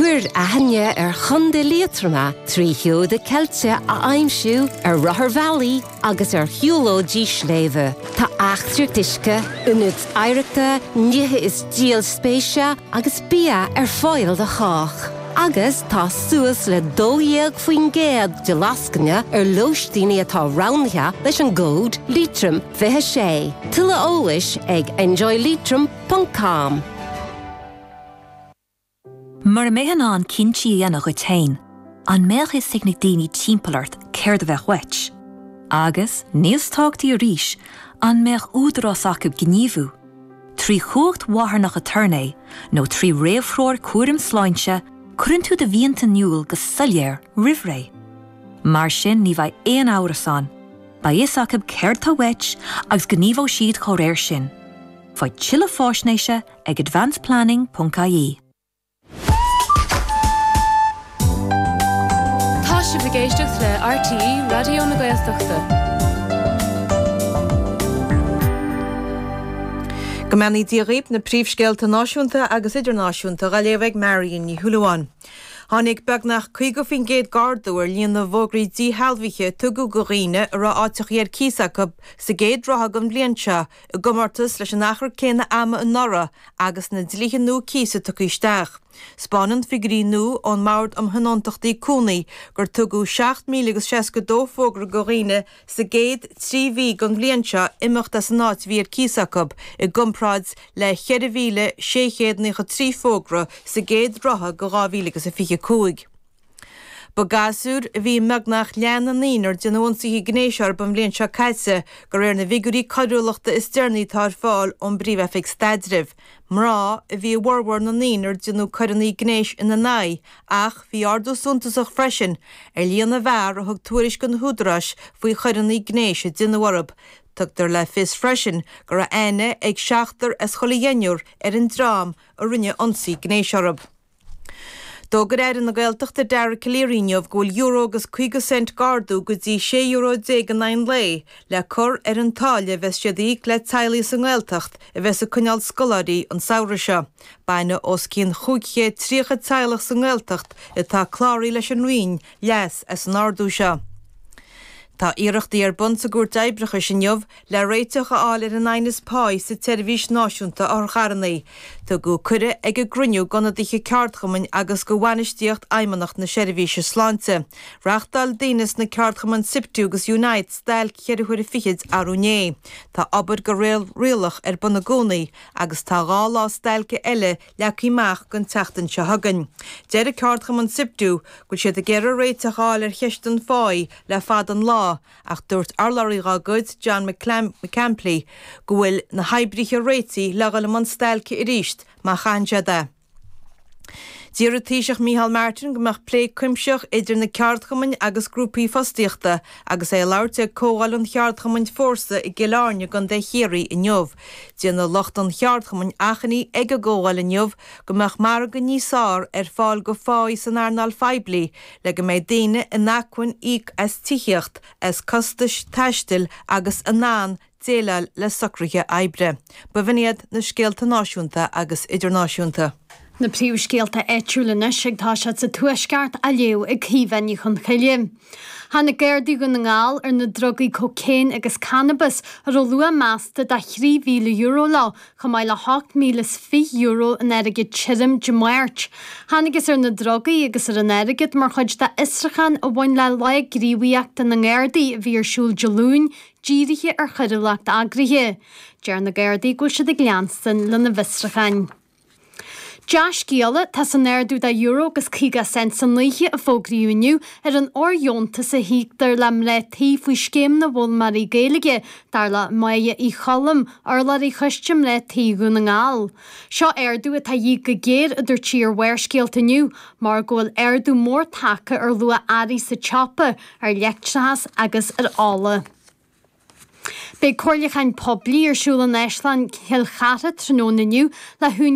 Cuir aithne ar Chontae Liatroma trí sheoda ceilte a aimsiú ar rotharbhealaí agus ar shiúlóidí sléibhe. Tá eachtraíocht uisce, ionaid oidhreachta, nithe is díol spéise agus bia ar fáil do chách. Agus tá suas le 12% de lascaine ar lóistíní atá roghnaithe leis an gcód Leitrim 26. Tuilleadh eolais ag enjoyleitrim ponc com. Mura mbeifeá in ann cinntí a dhéanamh dhuit féin, an mbeadh fhios ag na daoine timpeall ort céard a bheadh uait? Agus, níos tábhachtaí arís, an mbeadh údarás acu gníomhú? Trí chumhacht mharthanach aturnae nó trí réamhthreoir cúraim sláinte, cuireann tú do mhianta in iúl go soiléir roimh ré. Mar sin ní bheidh aon amhras ann, beidh fhios acu céard atá uait agus gníomhóidh siad dá réir sin. Faigh tuilleadh faisnéise ag advanceplanning.ie. Tá sibh ag éisteacht le RTÉ Raidió na Gaeltachta. Go mbeannaí Dia dhaoib, na príomhscéalta náisiúnta agus idirnáisiúnta á léamh ag Marion Ní Shúilleabháin. Tháinig beagnach 50% d'ardú ar líon na bhfógraí díshealbhaithe a tugadh do dhaoine a raibh áiteachaí ar cíos acu sa gcéad ráithe den bhliain seo i gcomórtas leis an achar céanna ama anuraidh agus na dlíthe nua cíosa tugtha isteach. 'Spáineann figiúirí nua ón mBord um Thionóntachtaí Cónaí gur tugadh 7,000 agus 62 fógra do dhaoine sa gcéad 3 mhí den bhliain seo imeacht as an áit a bhí ar cíos acu, i gcomparáid le 4,693 fógra sa gcéad ráithe de 2025. Ba gasúir a bhí i mbeagnach leath na ndaoine ar déanadh ionsaithe gnéis orthu an bhliain seo caite, de réir na bhfigiúirí coiriúlachta is deireanaí atá ar fáil ón bPríomh-Oifig Staidrimh. Mná a bhí i bhformhór na ndaoine ar déanadh coireanna gnéis ina n-aghaidh ach bhí ardú suntasach freisin ar líon na bhfear a thug tuairisc do na húdaráis faoi choireanna gnéis a déanadh orthu. Tugtar le fios freisin go raibh aithne ag seachtar as chuile dheichniúr ar an dream a rinne ionsaí gnéis orthu. D'fhógair Aire na Gaeltachta Dara Calleary inniu go bhfuil euro agus 50 cent d'ardú go dtí €16 euro in aghaidh an lae le cur ar an táille a bheas siad a íoc le teaghlaigh sa nGaeltacht a bheas ag coinneáil scoláirí an samhradh seo. Bainfidh os cionn 530 teaghlach sa nGaeltacht atá cláraithe leis an Roinn leas as an ardú seo. Tá iarrachtaí ar bun sa gCúirt Oibreachais inniu le réiteach a fháil ar an aighneas páí sa tSeirbhís Náisiúnta Otharcharranna. Tugadh cuireadh ag an gcruinniú d'ionadaithe ceardchumainn agus do bhainistíocht Fheidhmeannacht na Seirbhíse Sláinte. Reachtáil daoine sna ceardchumainn Siptu agus Unite stailc cheithre huaire fichid arú inné. Tá obair de réir rialach ar bun i gcónaí agus tá 2 lá stailce eile leagtha amach don tseachtain seo chugainn. Deir ceardchumann Siptu go bhfuil siad ag iarraidh réiteach a fháil ar cheist an pháí le fada an lá ach dúirt urlabhraí dá gcuid, John McCampleigh, go bhfuil na hoibrithe réitithe le dhul i mbun stailce arís má chaitheann siad é. D'iarr an Taoiseach Micheál Martin go mbeadh plé cuimsitheach idir na ceardchumainn agus grúpaí fostaíochta agus é ag labhairt ag comhdháil an cheardchumainn Fórsa i gCill Airne i gContae Chiarraí inniu. Déanadh lucht an cheardchumainn achainí ag an gcomhdháil inniu go mbeadh margadh níos fearr ar fáil do pháí san earnáil phoiblí le go mbeidh daoine in acmhainn íoc as tithíocht, as costais taistil agus in ann déileáil le socruithe oibre. B'in iad na scéalta náisiúnta agus idirnáisiúnta. Na príomhscéalta áitiúla anois ag toiseacht sa Tuaisceart á léamh ag Caoimhe Ní Chonchoille. Tháinig Gardaí Dhún na nGall ar na drugaí cócaon agus cannabas a raibh luach measta de €3,000 leo, chomh maith le €8,020 in airgead tirim Dé Máirt. Thángthas ar na drugaí agus ar an airgead mar chuid d'fhiosrúchán a bhain le Lá Gníomhaíochta na nGardaí a bhí ar siúl Dé Luain, dírithe ar choiriúlacht eagraithe. Deir na Gardaí go bhfuil siad ag leanstan lena bhfiosrúcháin. Dea-scéala atá san ardú de euro agus 50 cent san oíche a fógraíodh inniu ar an fhóirdheontas a híoctar le mná tí faoi Scéim na bhFoghlaimeoirí Gaeilge, dar le Máire Uí Choilm, urlabhraí Choiste Mná Tí Dhún na nGall. Seo ardú atá de dhíth go géar, a dúirt sí ar Bharrscéalta inniu, mar go bhfuil ardú mór tagtha ar luach earraí sa tsiopa, ar leictreachas agus ar ola. Beidh comhairliúchán poiblí ar siúl in Áislann Chill Chartha tráthnóna inniu le húinéirí.